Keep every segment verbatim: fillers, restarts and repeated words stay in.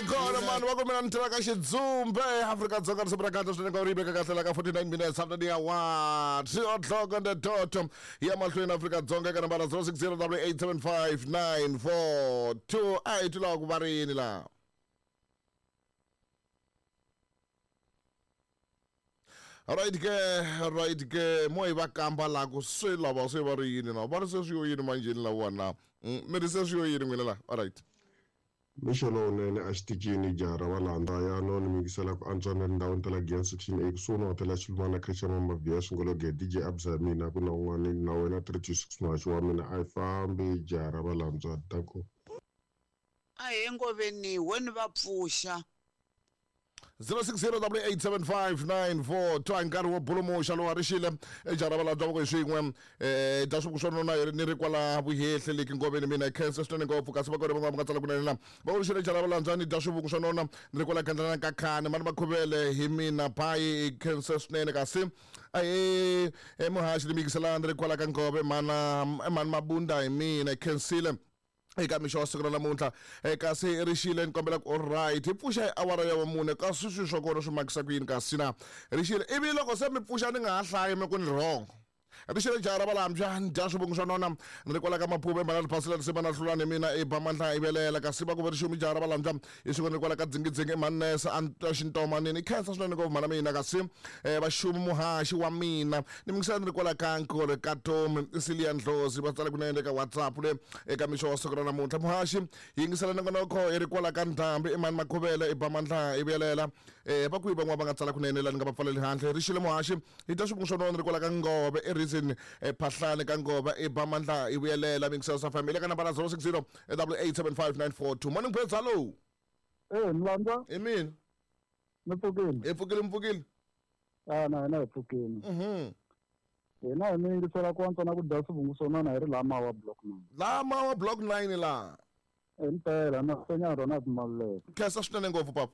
Hi kona mani va ku mina ni tirha ka Xidzumbe Afrika-Dzonga risimu ra kahle swinene ka ri veka kahle la ka forty-nine minutes after the hour three o'clock on the dot ya mahlweni Afrika-Dzonga eka nambara zero six zero double eight seven five nine four two a hi twi lava ku va ri yini laha. Right ke right ke mo hi va kamba la ku swi lava swi va ri yini na va ri se swi yo yini manjheni lawa na mi ri se swi yo yini n'wina la all right. Mixo lowunene a xitichini jaha ra valanda ya no ni mingisela ku antswa na tindhawini ta la Giyani section A kusuhi na hotela Xilumana Christian Mamaviya Swingologe D J Absa mina ku na un'wana na wena three two six muhaxi wa mina a yi fambi jaha ra valandzwa danko. A hi ngoveni weni va pfuxa zero six zero double eight seven five nine four two nkarhi wo bulumusha lowu a ri xile ejara valandzwa voko hi swin'we eh dya swi swo nona ni ri kwala vuhehle leki ngoveni mina hi khensa swinene ngopfu kasi va kona van'wana va nga tsala kunene la va ku xile jara valandzwa ni dya swivuku swo nona ni ri kwala gandlana ka khani mani makhuvele hi mina bayi khensa swinene kasi ahe emuhaxi ni mikisela ni ri kwala ka ngove mana mani mabunda hi mina hi khensile eka mixo wa siku ra namuntlha kasi ri xile ni kombela ku alright hi pfuxa hi awara ya vamune kasi swilo swa kona swi makisa ku yini kasi na ri xile ivi loko se mi pfuxa ni nga ha hlayi mi ku ni wrong ri xile jaha ra valambya ni dya swivungu swa nona ni ri kwala ka maphuva emhana riphasela risiva na hlulani mina i ba mandla i velela kasi va ku va ri xumi jaha ra valambya hi siku ni ri kwala ka dzingidzingi emhanesa a xintomanini khensa swinene ngopfu mhana mina kasi vaxumi muhaxi wa mina ni mingisela ni ri kwala ka nkore ka Tomi Silia Ndlozi va tsala kunene eka WhatsApp le eka mixo wa siku ra namuntlha muhaxi yingisela nongonoko i ri kwala ka Ndhambi emhani Makhuvele i ba mandla i velela va kwihi van'wana va nga tsala kunene la ni nga va pfaleli handle ri xile muhaxi hi dya swivungu swa nona ni ri kwala ka Ngove i reason phahlane ka Ngova i ba mandla i vuyelela mingisela sa family ka nambara zero six zero double eight seven five nine four two morning birds hello. Eh Mlandwa i mina ni pfukile hi pfukile mpfukile ah na hina hi pfukile mhm hina hi mi yingisela ku antswa na ku dya swivungu swo nona hi ri laha Mawa block nine laha Mawa block nine laha impela na senya rona timaluleke khensa swinene ngopfu papa.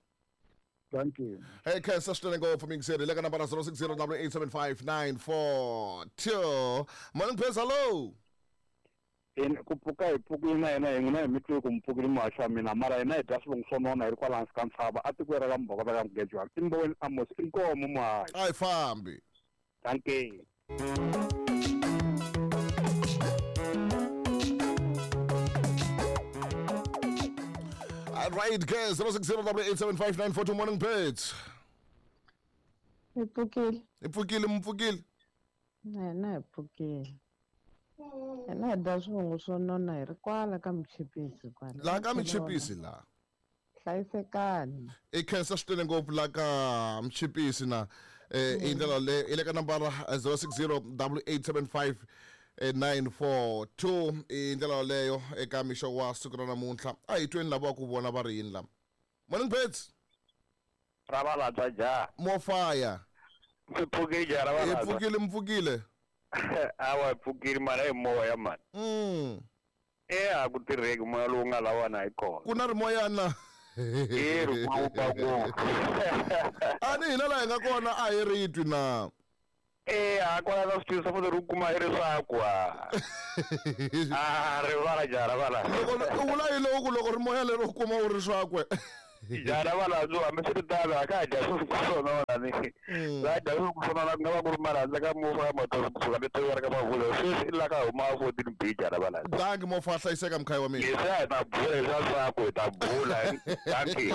Thank you. Hey, khensa swinene ngopfu mingiseri le ka nambara zero six zero double eight seven five nine four two morning birds hello. In ku pfuka hi pfukile na yena hi n'wina hi mi twi ku mi pfukile muhaxi wa mina mara hina hi dya swivungu swo nona hi ri kwala hansi ka ntshava a tikweni ra ka Mbhokota ka Mugejwana i Mboweni Amos i nkomo muhaxi a hi fambi. Thank you. All right, guys, zero six zero double eight seven five nine four two morning birds. Hi pfukile. Hi pfukile mpfukile. Na hina hi pfukile. Hina hi dya swivungu swo nona hi ri kwala ka Michipisi kwala. Laha ka Michipisi laha. Hlayisekani. I khensa swinene ngopfu la ka Michipisi na eh i ndlela le i le ka nambara zero six zero double eight seven five nine four two i ndlela yoleyo eka mixo wa siku ra namuntlha a hi tweni lava ku vona va ri yini lama morning birds ra valandzwa jaha mofaya mi pfukile jaha ra valandzwa hi pfukile mpfukile awa hi pfukile mara hi moya mani mm e a ku tirheki moya lowu nga lawana hi kona ku na rimoyana e ri kuluka ngopfu a ni hina laha hi nga kona a hi ri twi na Eh a kwala ka switivi swa futhi ri kuma i ri swaku a a rivala jaha ra valala loko u vula yini loko loko ri moya lero u kuma u ri swakwe jaha ra valala hambi swi ri tano a ka ha dya swo swo nona ni la dya swo swo nona ku nga va ku ri marhandza ka mufa mato kusuka le tiva ka mavula sweswi i la ka huma fourteen B jaha ra valala danki mofa hlayiseka mkhaya wa mina leswi a hi ta bula leswa swaku hi ta bula danki.